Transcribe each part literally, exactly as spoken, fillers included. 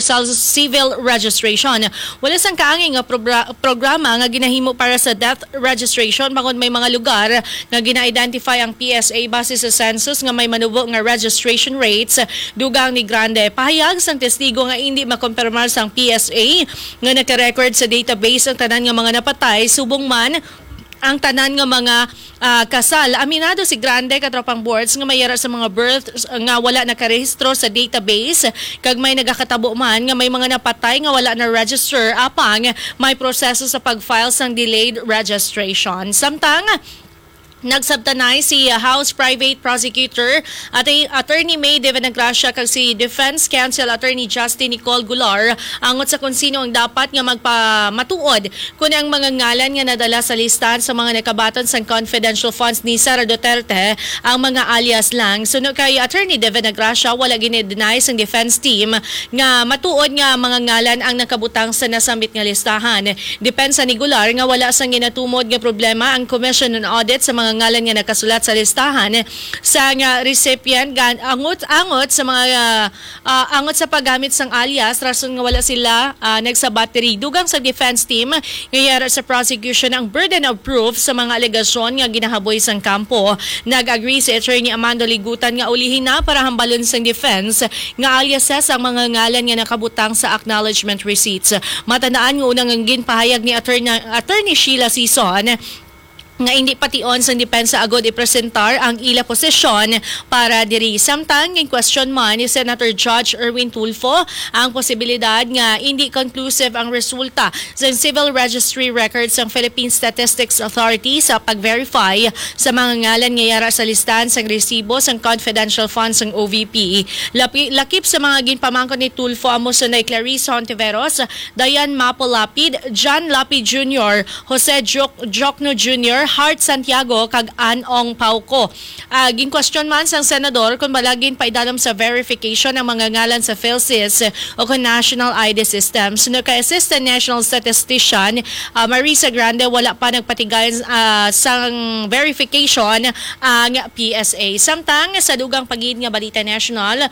sa civil registration. Wala sang kaangay nga probra-, programa nga ginahimo para sa death registration bangod may mga lugar nga gina-identify ang P S A base sa census nga may manubo nga registration rates, dugang ni Grande. Pahayag sang testigo nga indi makompirmar sang P S A nga naka-record sa database ang tanan nga mga napatay, subong man ang tanan nga mga, ah, kasal. Aminado si Grande, katropang boards, nga may yara sa mga births nga wala nakarehistro sa database, kag may nagakatabo man nga may mga napatay nga wala na-register, apang may proseso sa pag-file sang delayed registration. Samtang nagsabtanay si House Private Prosecutor Atty-, Attorney May Divinagracia kag si Defense Counsel Attorney Justin Nicole Gular angot sa kung sino ang dapat nga magpamatuod kun ang mga ngalan nga nadala sa listahan sa mga nakabaton sang confidential funds ni Sara Duterte ang mga alias lang. Suno kay Attorney Divinagracia, wala gini-deny sang defense team nga matuod nga mga ngalan ang nakabutang sa nasambit nga listahan. Depensa ni Gular nga wala sang ginatumod nga problema ang Commission on Audit sa mga ngalan nga nakasulat sa listahan sa nga recipient gan-, angot-angot sa mga, ah, ah, angot sa paggamit sang alias, rason nga wala sila, ah, nagsabat diri. Dugang sa defense team nga yara sa prosecution ang burden of proof sa mga alegasyon nga ginahaboy sang kampo. Nag-agree si Attorney Amando Ligutan nga ulihin na para hambalon sang defense nga aliases ang mga ngalan nga nakabutang sa acknowledgement receipts. Matandaan nga unang ang ginpahayag ni Attorney, Attorney Sheila Sison nga indi pation sang depensa agud ipresentar ang ila posisyon para diri. Samtang ginkwestiyon man ni Senator Judge Erwin Tulfo ang posibilidad nga indi conclusive ang resulta sa Civil Registry Records sang Philippine Statistics Authority sa pag-verify sa mga ngalan nga yara sa listahan sang resibo sang confidential funds sang O V P. Lapi-, lakip sa mga ginpamangkot ni Tulfo amo sunay Clarice Hontiveros, Diane Mapo Lapid, John Lapid Junior, Jose Joc-, Jocno Junior, Hart Santiago, kag Ann Ong Pauco. Ah, ginkwestiyon man sang senador kung bala ginpaidalom sa verification ang mga ngalan sa PhilSys o kon National I D System. Suno kay Assistant National Statistician, ah, Marisa Grande, wala pa nagpatigay, ah, sang verification ang P S A. Samtang sa dugang pagid nga balita national,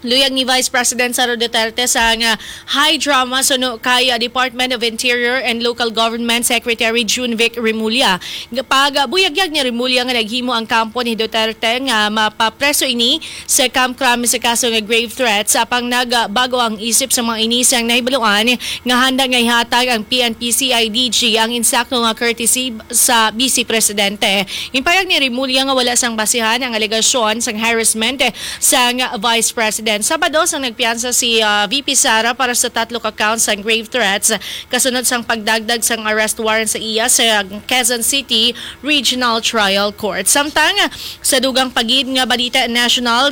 luyag ni Vice President Sara Duterte sang high drama suno kay, ah, Department of Interior and Local Government Secretary June Vic Remulla. Pagbuyagyag ni Remulla nga naghimo ang kampo ni Duterte nga mapapreso ini sa Camp Crame sa kaso nga grave threats, apang nagbago ang isip sa mga ini sang nahibaluan nga handa nga ihatag ang P N P C I D G ang insakto nga courtesy sa Vice Presidente. Ginpahayag ni Remulla nga wala sang basihan ang alegasyon sang harassment sang Vice President. Sabado sang nagpiyansa si, ah, V P Sara para sa tatlo ka counts sang grave threats kasunod sang pagdagdag sang arrest warrant sa iya sa Quezon City Regional Trial Court. Samtang sa dugang pagid nga balita national,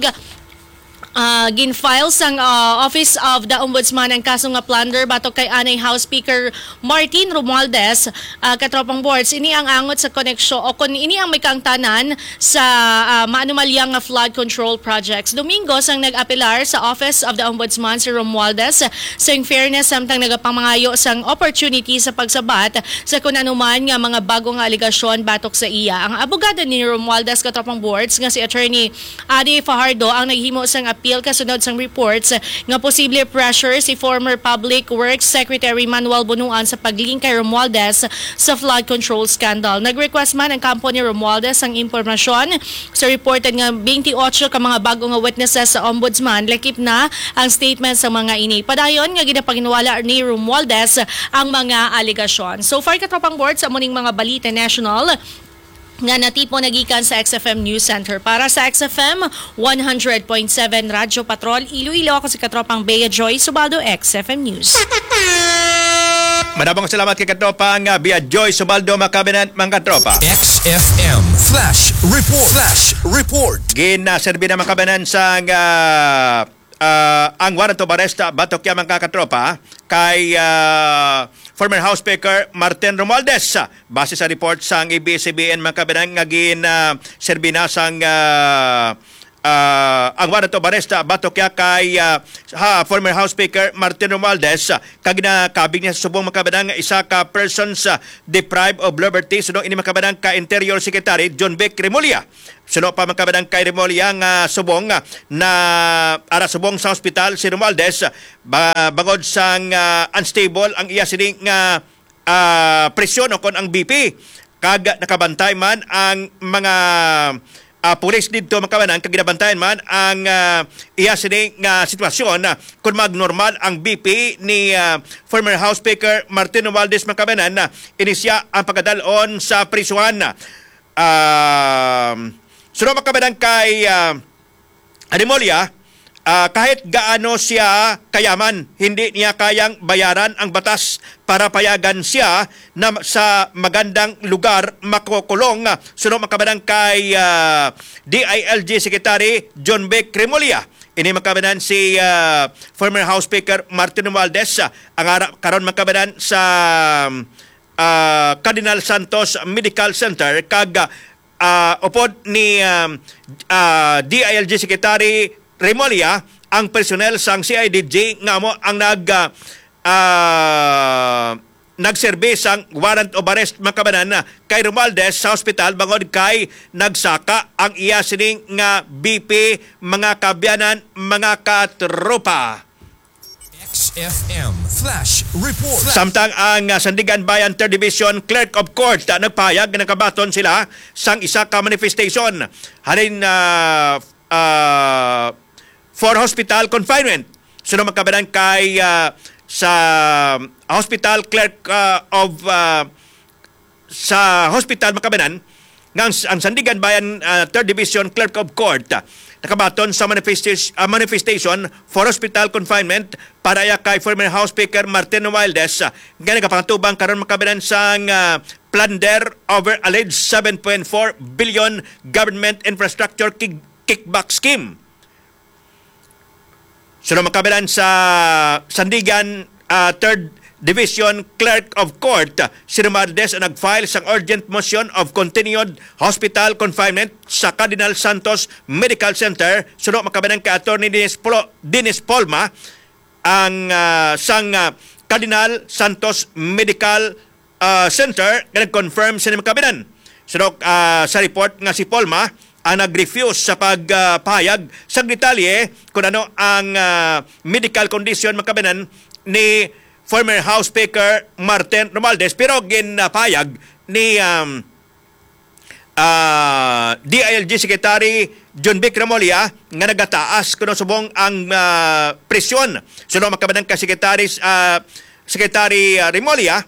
ah, gin-file sang, ah, Office of the Ombudsman ang kaso nga plunder batok kay anay House Speaker Martin Romualdez, ah, katropang boards. Ini ang angot sa koneksyon o kung ini ang may kaangtanan sa, ah, maanumalyang nga flood control projects. Domingo sang nag-apelar sa Office of the Ombudsman si Romualdez, sa in fairness, samtang nagapamangayo sang opportunity sa pagsabat sa kun ano man nga mga bago nga alegasyon batok sa iya. Ang abogado ni Romualdez, katropang boards, nga si Attorney Adi Fajardo ang naghimo sang appeal kasunod sang reports nga posible pressure si former Public Works Secretary Manuel Bonoan sa pag-link kay Romualdez sa flood control scandal. Nag-request man ang kampo ni Romualdez sang impormasyon sa reported nga twenty-eight ka mga bago nga witnesses sa Ombudsman, lakip na ang statement sa mga ini. Padayon nga ginapaginwala ni Romualdez ang mga alegasyon. So far, katropang board, sa muning mga balita national, nga natipon nagikan sa X F M News Center. Para sa X F M one hundred point seven Radyo Patrol, Iloilo, ako si Katropang Bea Joy Subaldo, X F M News. Madamong salamat kay Katropang, ah, Bea Joy Subaldo, mga kabanan, mga katropa. X F M Flash Report. Flash Report. Ginaserbi na, mga kabanan, sang, ah, ah, ang warrant of arrest, ah, batok ya, mga katropa, kay, ah, former House Speaker Martin Romualdez. Base sa report sang A B S C B N, mga kabanan, nga gin, ah, serbi na sang, ah, ah, ang warrant of arrest, ah, batok ya kay, ah, ha, former House Speaker Martin Romualdez, ah, kag ginakabig niya sa subong, mga kababayan, nga isa ka persons, ah, deprived of liberty, suno ini, mga kababayan, kay Interior Secretary John Vic Remulla. Suno pa, mga kababayan, kay Remulla nga subong, ah, na ara subong sa hospital si Romualdez, ah, ba, bangod sang, ah, unstable ang iya sini nga ah, presyon o kon ang B P. Kag nakabantay man ang mga, ah, pulis didto, mga kababayan, kag ginabantayan man ang, ah, iya sini nga sitwasyon, ah, kung magnormal ang B P ni, ah, former House Speaker Martin Romualdez, mga kababayan, ah, ini siya ang pagadalon sa prisuhan. Ah, suno, mga kababayan, kay, ah, Remulla, ah, kahit gaano siya kayaman, hindi niya kayang bayaran ang batas para payagan siya na sa magandang lugar makukulong. Suno, mga kababayan, kay, ah, D I L G Secretary John Vic Remulla. Ini, mga kababayan, si, ah, former House Speaker Martin Romualdez, ah, ang ara karon, mga kababayan, sa, ah, Cardinal Santos Medical Center kag, ah, ah, upod ni, um, ah, D I L G Secretary Remulla ang personnel sang C I D G nga amo ang nag, ah, ah, nagserbi sang warrant of arrest, mga kababayan, kay Romualdez sa hospital bangod kay nagsaka ang iya sining nga B P, mga kaabyanan, mga katropa. X F M Flash Report. Samtang ang, ah, Sandiganbayan Third Division Clerk of Court, ah, nagpahayag nga nakabaton sila sang isa ka manifestation halin, ah, ah, for hospital confinement. Suno, mga kababayan, kay, ah, sa hospital clerk, ah, of, ah, sa hospital, mga kababayan, nga ang, ang Sandiganbayan, ah, Third Division Clerk of Court, ah, nakabaton sa manifestis-, ah, manifestation for hospital confinement para ya kay former House Speaker Martin Romualdez, ah, nga nagapangatubang karon, mga kababayan, sang, ah, plunder over alleged seven point four billion government infrastructure kick-, kickback scheme. Suno, mga kababayan, sa Sandigan, ah, Third Division Clerk of Court, ah, si Romualdez ang nag-file sang urgent motion of continued hospital confinement sa Cardinal Santos Medical Center. Suno, mga kababayan, kay Attorney Dennis Plo-, Dennis Polma, ang, ah, sang, ah, Cardinal Santos Medical ah, Center nga nag-confirm sini, mga kababayan. Suno, ah, sa report nga si Polma ang nag-refuse sa pagpahayag sa detalye kung ano ang, ah, medical condition, mga kababayan, ni former House Speaker Martin Romualdez, pero ginpahayag ni, um, ah, D I L G Secretary John Vic Remulla nga nagataas kuno subong ang, ah, presyon. Suno, mga kababayan, kay Secretary, ah, Secretary, ah, Remulla,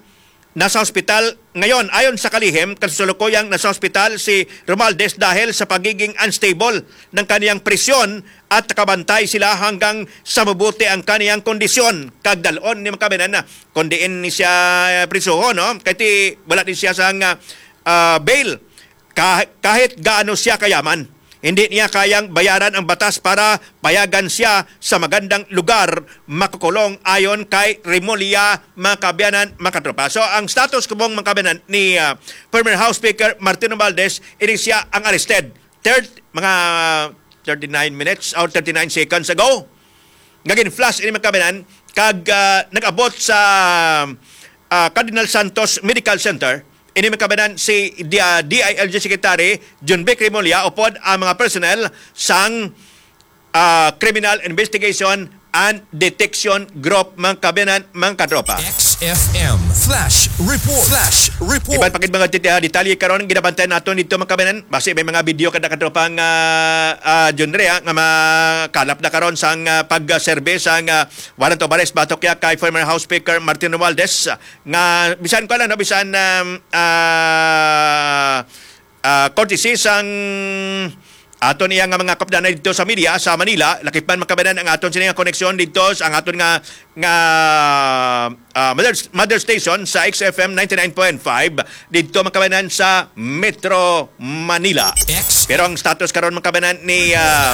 nasa hospital ngayon. Ayon sa kalihim, kasalukuyang nasa hospital si Romualdez dahil sa pagiging unstable ng kaniyang presyon at nakabantay sila hanggang sa mabuti ang kaniyang kondisyon. Kag dalon ni, mga kababayan, na kung diin ni siya, eh, prisuhon, no? Kay ti, wala din siya sang, ah, ah, bail. Kah-, kahit gaano siya kayaman, hindi niya kayang bayaran ang batas para payagan siya sa magandang lugar makukulong, ayon kay Remulla, mga kaabyanan, mga katropa. So, ang status kubong, mga kaabyanan, ni, ah, former House Speaker Martin Romualdez, ini siya ang arrested. Third, mga thirty-nine minutes or thirty-nine seconds ago, nga gin-flash ini, mga kaabyanan, kag, ah, nag-abot sa, ah, Cardinal Santos Medical Center. Ini, mga kaabyanan, si D-, ah, D I L G Secretary John Vic Remulla upod ang mga personnel sang, ah, Criminal Investigation and Detection Group, mga kaabyanan, mga katropa. X F M Flash Report. Flash Report. Iban pa gid mga deta-, detalye karon ang ginabantayan naton dito, mga kaabyanan. Basi may mga video kada katropa nga, ah, John Ray, ah, nga makalap na karon sang, ah, pagserbe sang, ah, warrant of arrest batok ya kay former House Speaker Martin Romualdez, ah, nga bisan ko lang, no, bisan, um, ah, ah, courtesy sang aton iya nga mga kaabyanan dito sa media sa Manila, lakip man, mga kaabyanan, ang aton sini nga koneksyon dito sa ang aton nga, nga, ah, mother, mother station sa X F M ninety-nine point five dito, mga kaabyanan, sa Metro Manila. Pero ang status karon, mga kaabyanan, ni, ah,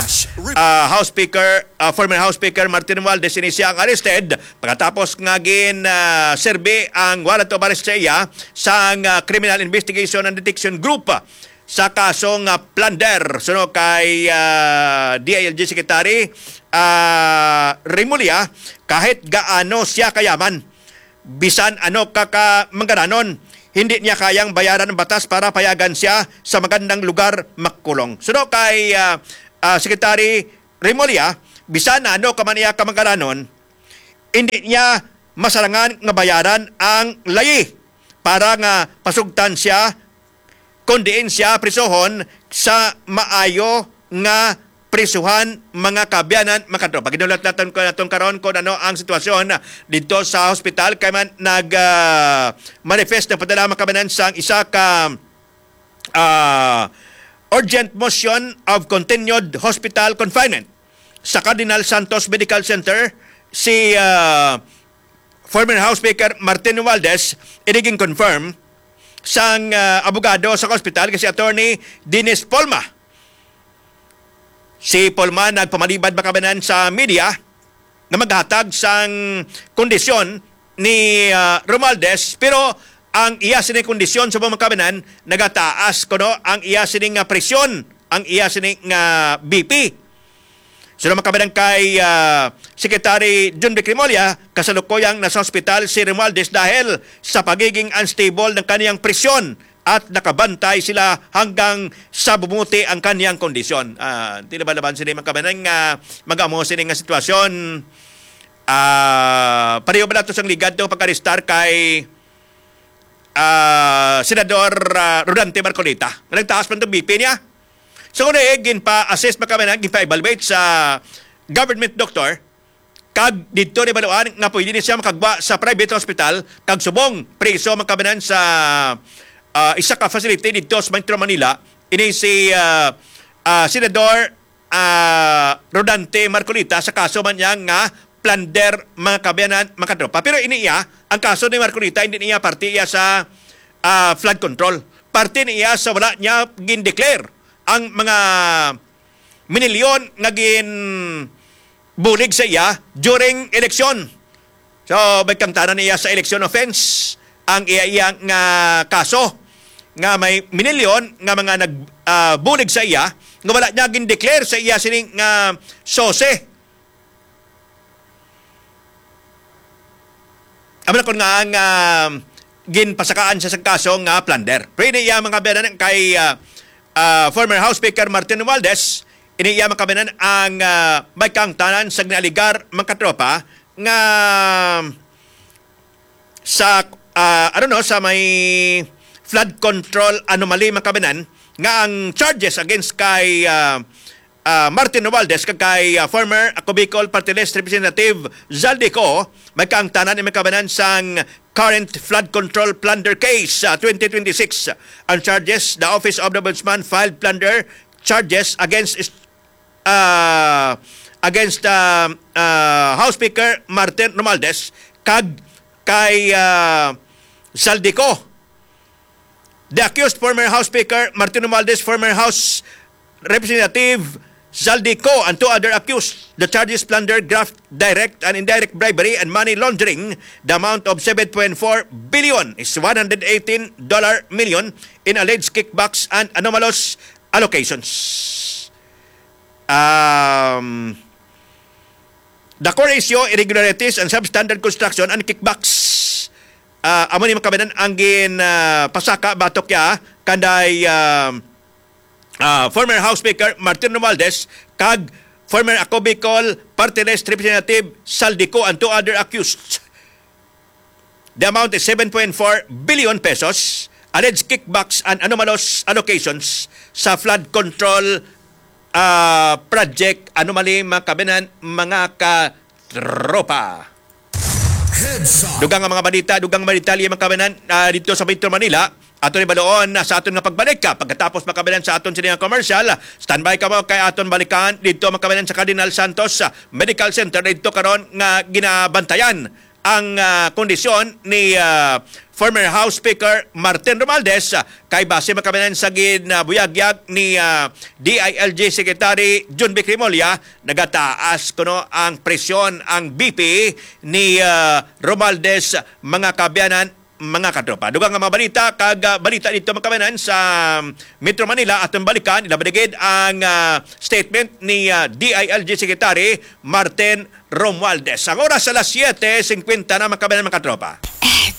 ah, House Speaker, ah, former House Speaker Martin Romualdez, ini siya ang arrested pagkatapos nga gin, ah, serbi ang warrant of arrest sa iya sang, ah, Criminal Investigation and Detection Group. sa kaso nga plunder. Suno kay, ah, D I L G Secretary, ah, Remulla, kahit gaano siya kayaman, bisan ano ka kamangaranon, hindi niya kayang bayaran ang batas para payagan siya sa magandang lugar makulong. Suno kay, ah, ah, Secretary Remulla, bisan na ano ka man iya kamangaranon, hindi niya masarangan nga bayaran ang layi para nga pasugtan siya, kun diin siya prisohon sa maayo nga prisuhan, mga kaabyanan, mga katropa. Ginulat naton ko naton karon kung ano ang sitwasyon dito sa hospital, kay man nag, ah, manifest na padala, mga kaabyanan, sang isa ka, ah, urgent motion of continued hospital confinement sa Cardinal Santos Medical Center si, ah, former House Speaker Martin Romualdez. Ini gin-confirm sang, ah, abogado sa hospital nga si Attorney Dennis Polma. Si Polma nagpamalibad, mga kaabyanan, sa media nga maghatag sang kondisyon ni, ah, Romualdez, pero ang iya sini kondisyon sa mga kaabyanan nagataas kuno ang iya sini nga presyon, ang iya sini nga B P. So, mga kaabyanan, kay, ah, Secretary John Vic Remulla, kasalukuyang nasa ospital si Romualdez dahil sa pagiging unstable ng kaniyang presyon at nakabantay sila hanggang sa bumuti ang kaniyang kondisyon. Ah, di na ba laban sini, mga kaabyanan, nga mag-amo sini nga sitwasyon? Ah, pareho ba nato sang ligad to pag-arestar kay, ah, Senador, ah, Rodante Marcoleta? Nga nagtaas man itong B P niya. So, kung eh, ginpa-assess, mga kaabyanan, ginpa-evaluate sa government doctor, kag didto ni baluan nga pwede ni siya makagwa sa private hospital kag subong preso, mga kaabyanan, sa, ah, isa ka facility didto sa Metro Manila. Ini si, ah, ah, Senador, ah, Rodante Marcoleta sa kaso man niya nga plunder, mga kaabyanan, mga katropa. Pero ini iya, ang kaso ni Marcoleta, hindi niya parte iya sa, ah, flood control. Parte niya sa wala niya gin-declare ang mga minilyon nga gin bulig sa iya during eleksyon. So, may kangtanan niya sa election offense ang iya, iya nga kaso nga may minilyon nga mga nag, ah, bulig sa iya nga wala niya gin-declare sa iya sining nga sose. Amo na kon nga ang, ah, ginpasakaan sa, sa kaso nga plunder. Pero ini iya, mga kaabyanan, kay, ah, ah, former House Speaker Martin Romualdez, ini iya, mga kaabyanan, ang, ah, may kangtanan sa ginaaligar, mga katropa, nga sa, ah, ano no, sa may flood control anomaly, mga kaabyanan, nga ang charges against kay, ah, ah, Martin Romualdez kag kay, ah, former Ako Bicol Party List Representative Zaldy Co, may kaangtanan, mga kaabyanan, sang current flood control plunder case sa twenty twenty-six. Ang charges, the Office of the Ombudsman filed plunder charges against, ah, against, ah, ah, House Speaker Martin Romualdez kag kay, ah, Zaldy Co. The accused, former House Speaker Martin Romualdez, former House Representative Zaldy Co, and two other accused. The charges: plunder, graft, direct and indirect bribery, and money laundering. The amount of seven point four billion is one hundred eighteen dollar million in alleged kickbacks and anomalous allocations. Um, the core issue, irregularities and substandard construction and kickbacks. Ah, amo ni, mga kaabyanan, ang gin, ah, pasaka batok ya kanday, ah, ah, former House Speaker Martin Romualdez kag former Ako Bicol Party List Representative Zaldy Co and two other accused. The amount is seven point four billion pesos. Alleged kickbacks and anomalous allocations sa flood control, ah, project anomaly, mga kaabyanan, mga katropa. Heads up. Dugang nga mga balita, dugang nga mga detalye, mga kaabyanan, ah, dito sa Metro Manila. Ato ni baloon na sa aton nga pagbalik ka pagkatapos, mga kaabyanan, sa aton sini nga commercial. Standby ka mo kay aton balikan dito, mga kaabyanan, sa Cardinal Santos, ah, Medical Center dito karon nga ginabantayan ang, ah, kondisyon ni, ah, former House Speaker Martin Romualdez, ah, kay base, mga kaabyanan, sa ginabuyagyag ni, ah, D I L G Secretary John Vic Remulla, nagataas kuno ang presyon, ang B P ni, ah, Romualdez, mga kaabyanan, mga katropa. Dugang nga mga balita kag ah, balita dito, mga kababayan, sa Metro Manila, atong balikan, ilabi na gid ang ah, statement ni ah, D I L G Secretary Martin Romualdez. Ang oras alas siyete singkwenta na, mga kababayan, mga katropa. Eh,